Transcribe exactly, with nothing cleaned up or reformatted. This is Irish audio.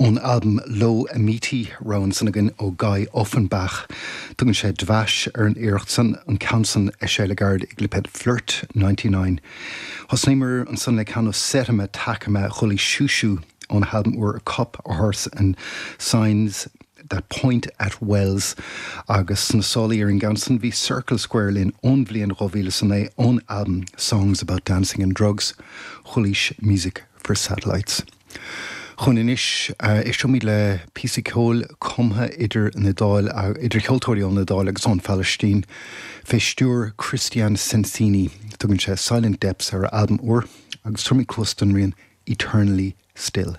Ón albam Lo Amiti rogha ansan againn ó Guy Offenbach. Tugann sé Dvash ar an iarracht san an ceann san eisithe le gairid i gclipéad Flirt ninety-nine. Thosnaíomar ansan le ceann ó Setema Takema chualaís Shushu ón albam úr A Cup, a Horse and Signs That Point at Wells agus sna sálaí ar an gceann san bhí Circle Square linn ón bhliain dhá mhíle is a naoi ón albam Songs About Dancing and Drugs chualaís Music for Satellites. Chun anois éistfimid le píosa ceoil cumtha idir an Iodáil idir cheoltóirí ón Iodáil agus ón Phalaistín fé stiúir Christian Sensini tugann sé Silent Depths ar albam úr agus tabharfaimid cluas don rian Eternally Still.